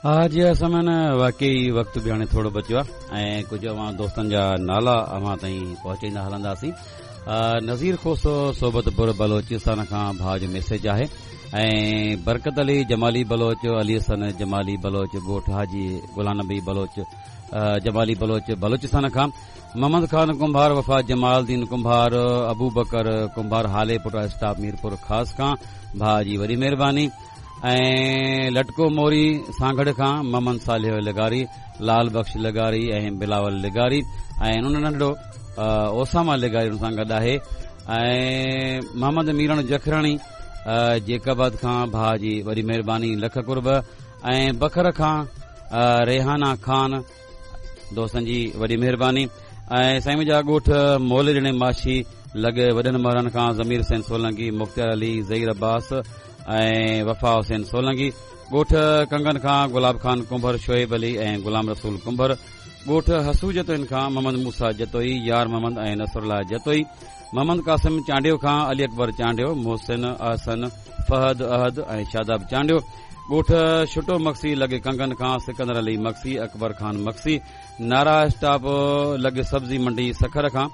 ها جي سمن، واقعي وقت به هاڻي ٿورو بچيو آهي ۽ ڪجهه اوهان دوستن جا نالا اوهان تائين پهچائيندا هلنداسين. نذير کوسو صحبت پور بلوچستان کان ڀاء جو ميسيج آهي ۽ برڪت علي جمالي بلوچ، علي حسن جمالي بلوچ ڳوٺ حاجي غلام نبي بلوچ جمالي بلوچ بلوچستان کان، محمد خان ڪنڀار، وفا جمال الدين ڪنڀار، ابوبڪر ڪنڀار هالي پٽ اسٽاپ ميرپور خاص کان، ڀاء جي وڏي مهرباني. ۽ لٽڪو موري سانگهڙ کان محمد صالح لغاري، لال بخش لغاري ۽ بلاول لغاري ۽ ان ننڍڙو اوساما لغاري ان سان گڏ آهي ۽ محمد ميرڻ جکراڻي جيڪب آباد کان ڀاء جي وڏي مهرباني لک قرب ۽ بکر کان ريحانا خان دوستن جي وڏي مهرباني ۽ سائين منهنجا ڳوٺ مولي ڏڻي ماشي لڳ وڏن مهرن کان ضمير حسين سولنگي، مختيار علي، ظهير عباس ۽ وفا حسين سولنگي، ڳوٺ ڪنگن کان گلاب خان ڪنڀر، شعيب علي ۽ غلام رسول ڪنڀر، ڳوٺ حسو جتوئين کان محمد موسيٰ جتوئي، يار محمد ۽ نصرالله جتوئي، محمد قاسم چانڊيو کان علي اڪبر چانڊيو، محسن، احسن، فهد، احد ۽ شاداب چانڊيو، ڳوٺ شٽو مگسي لڳ ڪنگن کان سڪندر علي مگسي، اڪبر خان مگسي، نارا اسٽاپ لڳ سبزي منڊي سکر کان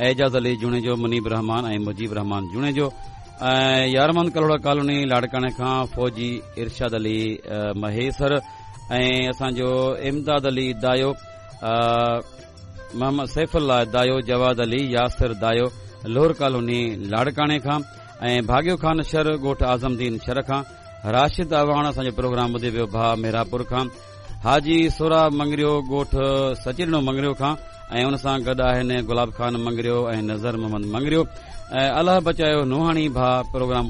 اعجاز علي جوڻيجو، منيب الرحمان ۽ مجيب الرحمان جوڻيجو ۽ يارمحمد ڪلهوڙا ڪالوني لاڙڪاڻي کان فوجي ارشاد علي مهيسر ۽ اسان جو امداد علي دايو، محمد سيف الله دايو، جواد علي، ياسر دايو لوهر ڪالوني لاڙڪاڻي کان ۽ ڀاڳيو خان شر ڳوٺ اعظم دين شر کان راشد اعواڻ اسان جو پروگرام ٻڌي پيو ڀاء مهراپور کان حاجي سهراب مڱريو ڳوٺ سچيڏنو مڱريو کان ۽ ان سان گڏ آهن گلاب خان مڱريو ۽ نظر محمد مڱريو ۽ الله بچايو نوحاڻي ڀاء پروگرام.